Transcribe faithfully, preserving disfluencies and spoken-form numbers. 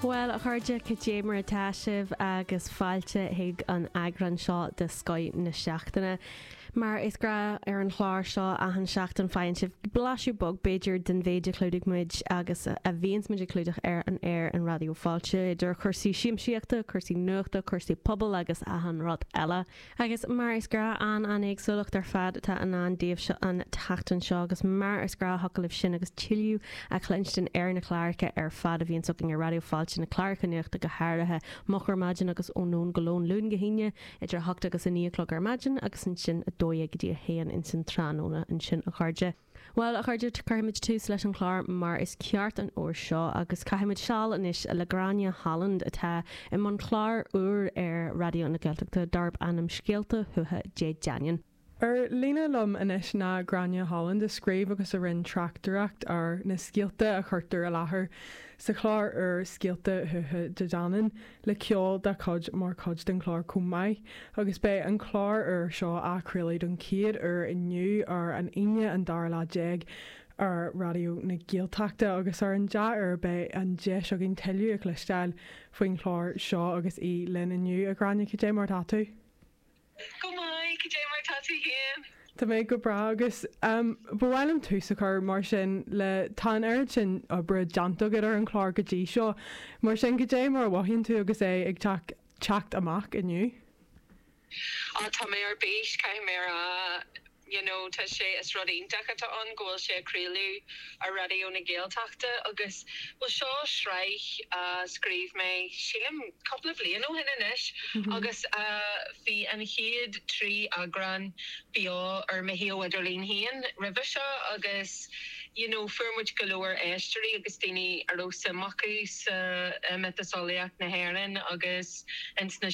Well a chairde cad é mar atá sibh agus fáilte chuig an eagrán seo de Scoth na Seachtaine. Mar is gnách ar an chlár seo achan seachtain faigheann sibh blaiseadh beag b'fhéidir den mhéid a chlúdaigh muid agus a bhíonns muid ag clúdach ar an air in Raidió Fáilte idir chúrsaí siamsaíochta, cúrsaí nuachta, cúrsaí pobail agus achan rud eile. Agus mar is gnách an an éagsúlacht ar fad atá i ndán daoibh an tseachtain seo agus mar is gnách thiocfadh libh sin agus tuilleadh a chluinstin ar na cláracha ar fad a bhíonn againn ar Raidió Fáilte na cláracha nuachta go háirithe moch ar maidin agus ó nóin go lón Luan go hAoine idir hocht agus a naoi a chlog ar maidin agus ansin a dó dhéag go dtí a haon insan tráthnóna ansin a chairde. Well a chairde cuirfimid tús leis an chlár mar is ceart an uair seo agus caithfimid seal anois le Gráinne Holland atá i mbun clár úr ar Raidió na Gaeltachta darb ainm Scéalta Thuaithe Dé Danann. Ar líne liom anois ná Gráinne Holland a scríobh agus a rinne tráchtaireacht ar na scéalta a chuirtear i láthair sa chlár úr Scéalta Thuaithe Dé Danann le ceol dá cuid mar chuid den chlár chomh maith, agus beidh an clár úr seo á chraoladh don chéad uair inniu ar an Aoine an dara lá déag ar Raidió na Gaeltachta agus ar an dea-uair beidh an deis againn tuilleadh a chloisteáil faoin chlár seo agus í linn inniu a Ghráinne cad é mar atá tú. Go maith cad é mar atá tú féin. Tá mé go breá agus um, ba mhaith liom tús a chur mar sin le tá an oiread sin oibre déanta agat ar an chlár go dtí seo, mar sin cad é mar a mhothaíonn tú agus é ag teacht amach inniu. Á tá mé ar bís caithfidh mé a rá you know, tá sé is rud iontach atá ann go bhfuil sé á chraoladh ar Raidió na Gaeltachta agus well seo sraith uh, scríobh mé sílim cúpla bliain ó shin anois mm -hmm. agus uh, bhí an chéad trí eagrán beo ar mo shuíomh idirlín féin roimhe seo agus you know, fuair muid go leor éisteoirí agus daoine a raibh suim acu sa uh, miotaseolaíocht na hÉireann agus ins na